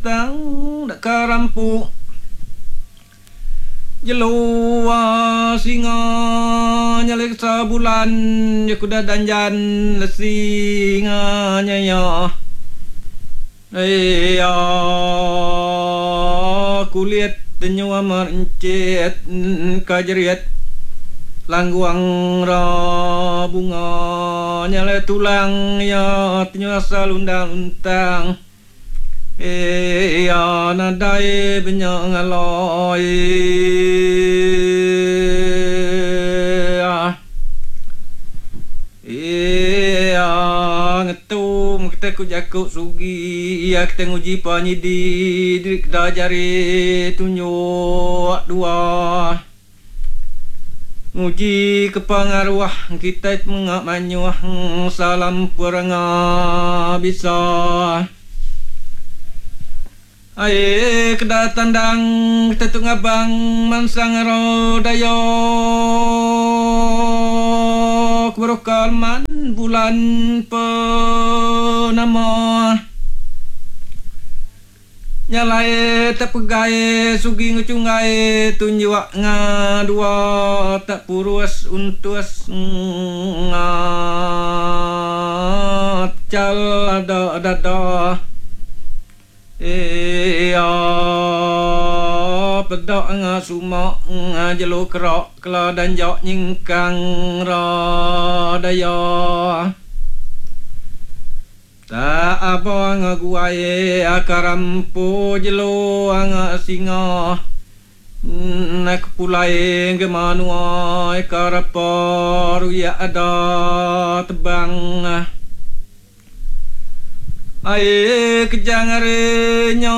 Tang deka rampu jelu singa nyalik sebulan jaku da danjan lesi nga nyaya iya kulit tenyu amat encit ka jerit langguang ra bunga nyalai tulang iya tenyu asal undang untang. Iya nadai benya ngalai. Iya ngetu meh kitai ku jaku sugi iya kitai nguji pa nyidi diri keda jari tunjuk dua. Nguji ke pengaruh kitai menga mayuh salam perenga bisa. Ai keda tandang kitai tu ngabang mansang ero dayo ke beruka leman bulan penama. Nya alai tak pegai sugi enggau chunggai tunjuk nga dua tak purus untus nga chal ada dada iya peda nga suma nga jelu kera kela danja nyingkang ra daya. Tak aba ngaguai akarampu jelu anga singa nak pulai ke manua karapa ruyak ada tebang ai kejang ari nya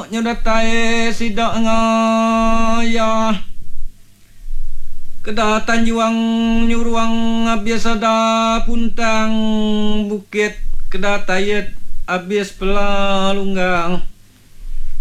nyu datai sida ngaya. Keda Tanjuang nyuruang abis ada puntang bukit keda tayet abis pela lunggang.